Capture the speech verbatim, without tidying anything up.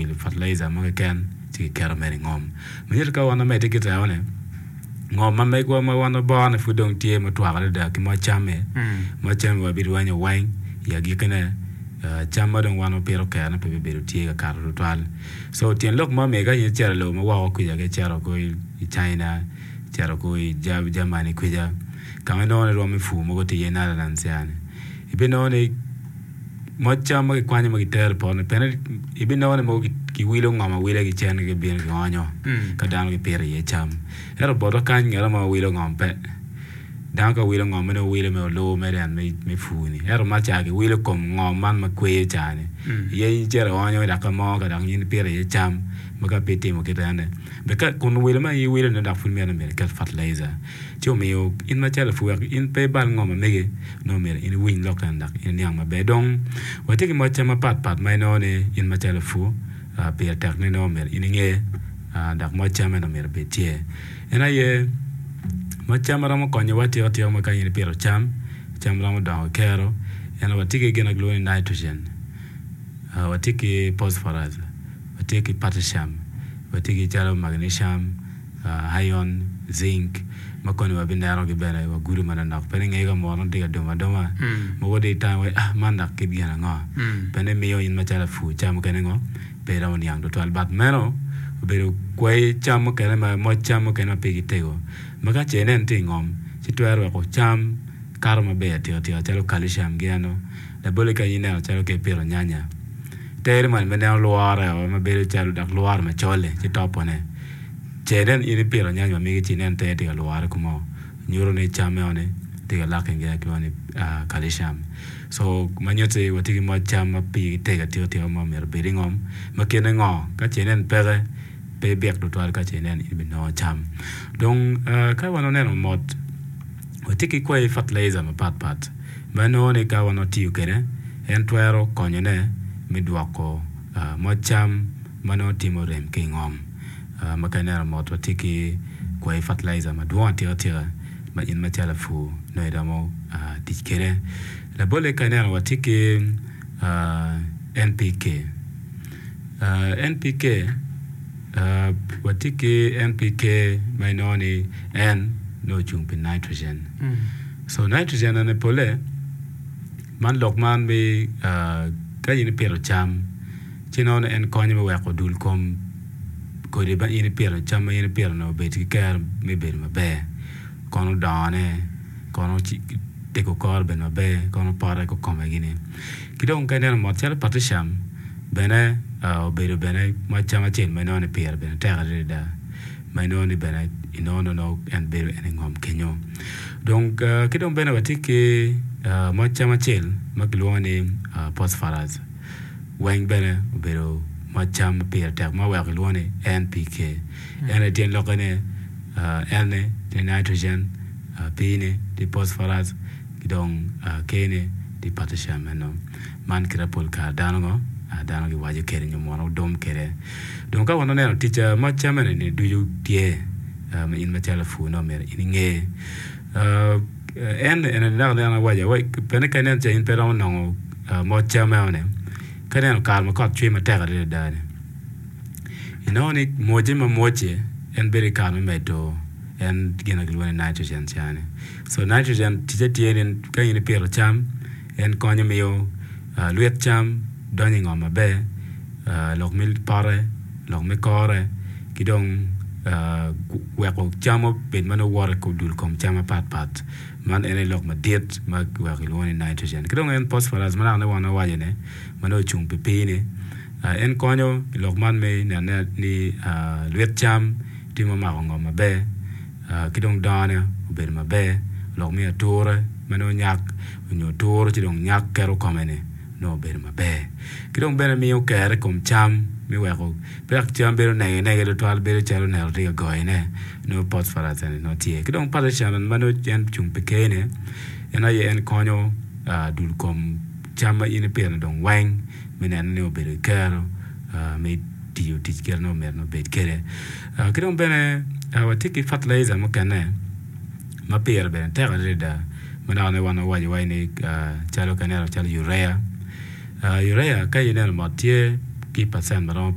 wilo fertilizer mo keken ci kiketo mere i ngom. Ma nyuto ka wan wamedde ki teo-ni, ngom ma megwa ma wan waboro-ni pud dong tye mutwak adada ki moc cam-mi, moc cam-mi wabirwenyo weng i agikkine cam ma dong wan wapito kerone pe bibedo tye ka kato tutwal. So tyen lok ma omiyo ka in icito i lobo ma woko kwica ka icito ko i China, icito ko i Germany kwica ka ma inongo ni rwom me pur mogo tye iye Netherlands yani ibinongo ni moc cam ma kikwanyo ma kitero i poto-ni pien ibinongo ni mogo kiwilo ngom awila ki cen gibino gionyo ka dano gipito iye cam ento botwa kany ngat mo ma wilo ngom pe dano ka wilo ngom nongo wilo mere olubo mere en me pur-ni ento ma ca kiwilo kom ngom man ma kweyo ca-ni iye in icito ionyo dok ka mo ka dok in ipito iye cam ma ka pe itimo kit ene kun wilo ma in iwilo-ni dok pud myero iket fertilizer ci omiyo in macalo lapur wek in pe ibal ngom ma megi nongo myero in iwiny lok eni dok in iniang maber dong watye ki moc cam mapatpat ma inongo ni in macalo lapur pire tek ni nongo myero in inge dok moc cam eno myero obed tye en aye moc cam ma romo konyowa atika tika ma ka in ipito cam, cam romo dongo ki kero ento watye ki gin ma kilwongo ni nitrogen watye ki phosphorus watye ki potassium watye ki calo magnesium iron, zinc ma koni wabinenogi bene wagudo manok pe ni inge ka muno tye ka dong adonga mogo dong itamo ni man dok kit gin ango pien miyo in macalo lapur ca mukene ngo pe iromo niang tutwal but meno obedo kwai cam mukene moc cam mukene ma pigi tego ma ka ce inen tye i ngom ci twero weko cam kato maber atika tika calo calcium gi eno labolle ka in ineno calo ka ipito nyanya tere moni ma ineno lwore ma bedo calo dok lwore macol-li ci topone ce inen in ipito nyanya ma megi ci inen tere tye ka lwore kumo nyuto ni cam enoni tye ka lacking gin ma kilwongo ni calcium so ma nyutti watye ki moc cam ma pigi tego atika tika ma myero obed i ngom ma kine ngo ka ce inen peke pe ibik tutwal ka ce inen in ibinongo cam dong ka wan waneno mot watye ki kwai fertilizer mapatpat ma inongo ni ka wan watiyo kwede en twero konyone me dwoko moc cam ma nongo timo rem ki i ngom ma ka ineno mot watye ki kwai fertilizer madwong atika tika ma in macalo lapur nongo iromo tic kwede labolle ka ineno watye ki N P K N P K watye ki N P K ma inongo ni N nongo ocung pi nitrogen so nitrogen eni pole man lok man mi ka in ipito cam ci inongo ni en konyo me weko dul kom kodi ma in ipito cam ma in ipito-ni obed ki kero me bedo maber kono dongone kono tego kore obed maber kono pote kikome gini ki dong ka ineno mot calo potassium bene obedo bene moc cam acel ma inongo ni pire bene tek adada ma inongo ni bene inongo ni en bedo en i ngom kenyo dong ki dong bene watye ki moc cam acel ma kilwongo ni phosphorus weng bene obedo moc cam ma pire tek ma oweko kilwongo ni N P K en aye tyen lokke ni N ni tye nitrogen P ni tye phosphorus ki dong K ni tye potassium eno man kite pol kare dano ngo dano giwaco kwede nyo muno dum kwede dong ka wan waneno tic moc cam eni ducu tye ma in macalo lapur nongo myero in inge en eni dok an awaco pien ka inen ca in pe iromo nongo moc cam enoni ka ineno kare ma kot cwer matek adada ni inongo ni mwoce ma mwoce en bedo ki kare me medo en gin ma kilwongo ni nitrogen cani so nitrogen ticce tye ni ka in ipito cam en konyo miyo lwit cam donyo i ngom maber lok me pote lok me kore ki dong weko cam obed ma nongo woto i dul kom cam mapatpat man en aye lok madit ma weko kilwongo ni nitrogen ki dong en phosphorus ma naka wan wawaco ni ma nongo ocung pi pii-ni en konyo i lok man me nenone ni lwit cam tye ma omako ngom maber ki dong dongone obedo maber lok me ature ma nongo nyak nyo turo ci dong nyak keto kome-ni nongo obedo maber ki dong bene miyo kero i kom cam me weko pe dok cam bedo negenege tutwal bedo calo neno tye ka goyone nongo phosphorus eni nongo tye ki dong potassium ma nongo en ocung pi K-ni en aye en konyo dul kom cam ma in ipito dong weng me neno ni obedo ki kero me tiyo tic kite ma myero obed kwede ki dong bene watye ki fertilizer mukene ma pire bene tek adada ma dok wan wawaco wai ni calo ka ineno calo urea urea ka ineno mot tye ki pacent ma romo